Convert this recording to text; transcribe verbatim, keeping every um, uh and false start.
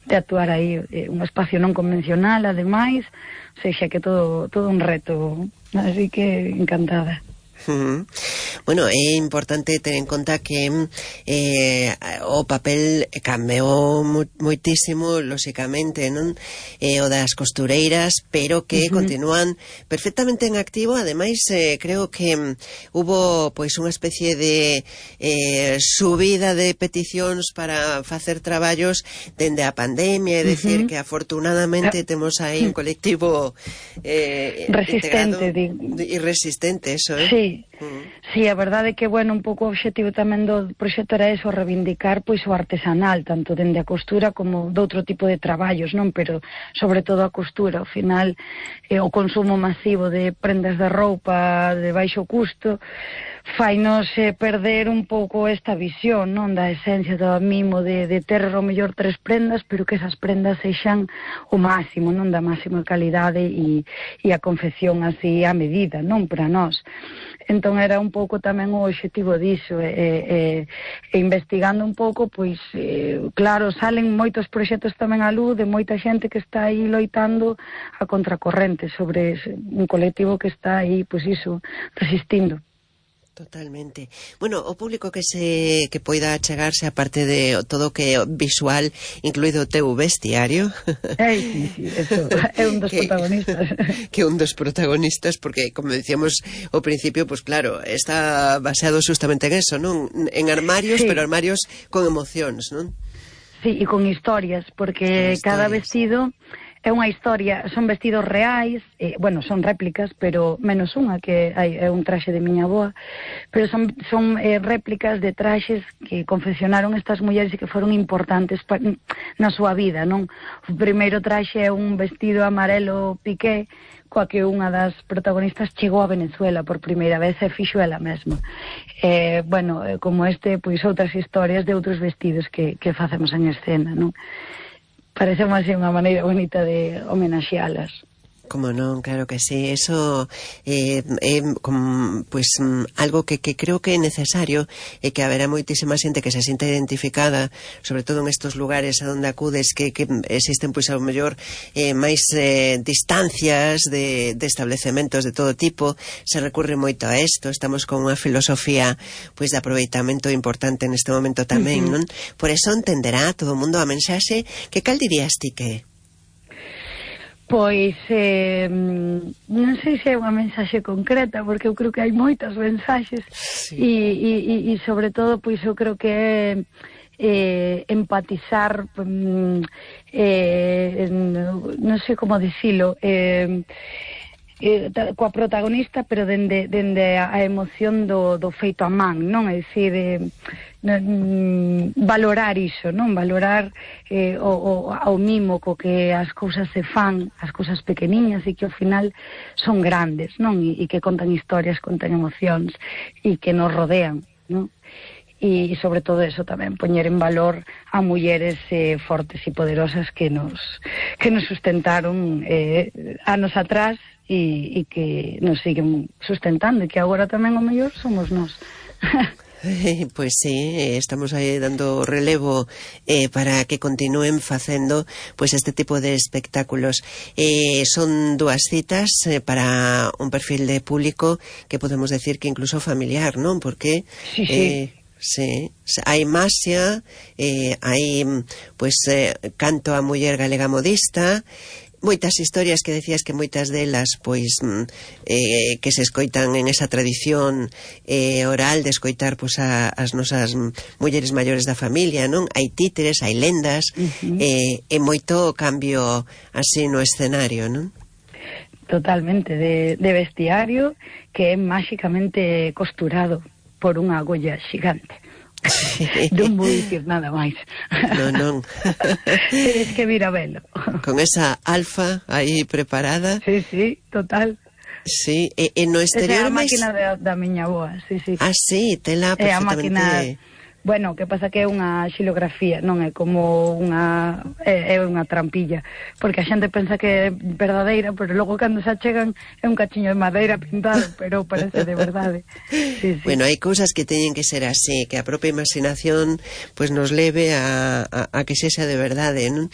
de actuar aí, eh, un espacio non convencional, ademais, o sea, que todo, todo un reto, así que encantada. Uh-huh. Bueno, é importante ter en conta que eh, o papel cambiou moitísimo, lóxicamente, non? Eh, o das costureiras, pero que uh-huh. continúan perfectamente en activo. Ademais, eh, creo que um, hubo pois unha especie de eh, subida de peticións para facer traballos dende a pandemia, é uh-huh. dicir, que afortunadamente temos aí un colectivo eh, resistente, e resistente, eso, eh? Sí. Uh-huh. Sí, a verdade é que, bueno, un pouco o obxectivo tamén do proxecto era eso, reivindicar pois o artesanal, tanto dende a costura como de outro tipo de traballos, non? Pero sobre todo a costura, ao final eh, o consumo masivo de prendas de roupa de baixo custo fainos eh, perder un pouco esta visión, non? Da esencia do mimo de, de ter o mellor tres prendas, pero que esas prendas sexan o máximo, non? Da máxima calidade e, e a confección así a medida, non? Para nós. Entón era un pouco tamén o obxectivo diso, e, e, e investigando un pouco, pois, eh, claro, salen moitos proxectos tamén á luz de moita xente que está aí loitando a contracorrente sobre un colectivo que está aí, pois iso, resistindo. Totalmente. Bueno, o público que se que poida achegarse, aparte de todo que visual, incluído o teu vestiario. Ei, sí, sí, eso é un dos que, protagonistas. Que un dos protagonistas, porque, como decíamos ao principio, pues claro, está baseado justamente en eso, non? En armarios, sí. Pero armarios con emocións, non? Sí, e con historias, porque con historias. Cada vestido é unha historia, son vestidos reais, eh, bueno, son réplicas, pero menos unha, que hai, é un traxe de miña avoa, pero son, son eh, réplicas de traxes que confeccionaron estas mulleres e que foron importantes pa, na súa vida, non? O primeiro traxe é un vestido amarelo piqué, coa que unha das protagonistas chegou a Venezuela por primeira vez e fixo ela mesma. Eh, bueno, como este, pois outras historias de outros vestidos que, que facemos en escena, non? Parece máis unha maneira bonita de homenaxealas. Como non, claro que sí, eso é eh, eh, pues, algo que, que creo que é necesario e que haberá moitísima xente que se sinta identificada, sobre todo en estos lugares a donde acudes, que, que existen pois ao mellor eh, máis eh, distancias de, de establecementos de todo tipo, se recurre moito a isto, estamos con unha filosofía pois de aproveitamento importante neste momento tamén, uh-huh. non? Por eso entenderá todo o mundo a mensaxe que cal dirías ti que Pois, eh, non sei se é unha mensaxe concreta, porque eu creo que hai moitas mensaxes, sí. e, e, e sobre todo, pois eu creo que é eh, empatizar, eh, non sei como dicilo, eh, eh, coa protagonista, pero dende, dende a emoción do, do feito a man, non? É dicir, eh, valorar iso, non? Valorar eh, o, o, ao mimo co que as cousas se fan, as cousas pequeniñas e que ao final son grandes, non? E, e que contan historias, contan emocións e que nos rodean, non? E, e sobre todo eso tamén, poñer en valor a mulleres eh, fortes e poderosas que nos que nos sustentaron eh, anos atrás e, e que nos siguen sustentando e que agora tamén o mellor somos nós. Pois sí, estamos aí dando relevo eh, para que continúen facendo pois este tipo de espectáculos. Eh, son dúas citas eh, para un perfil de público que podemos decir que incluso familiar, non? Porque sí, sí. Eh, sí, hai maxia, eh, hai pois eh, canto a muller galega modista, moitas historias que decías que moitas delas pois eh, que se escoitan en esa tradición eh, oral de escoitar pois a, as nosas mulleres maiores da familia, non? Hai títeres, hai lendas, uh-huh. eh, e moito cambio así no escenario, non? Totalmente, de, de vestiario que é máxicamente costurado por unha agulla xigante. Non vou dicir nada máis. Non, non. Tenes que vir a velo. Con esa alfa aí preparada. Sí, sí, total. Sí, e, e no exterior esa é a máquina máis... da, da miña boa, sí, sí. Ah, sí, tela perfectamente. É a máquina... Bueno, que pasa que é unha xilografía, non é como unha é, é unha trampilla, porque a xente pensa que é verdadeira, pero logo cando se achegan é un cachiño de madeira pintado, pero parece de verdade. Sí, sí. Bueno, hai cousas que teñen que ser así, que a propia imaginación pues nos leve a, a, a que sexa de verdade, non?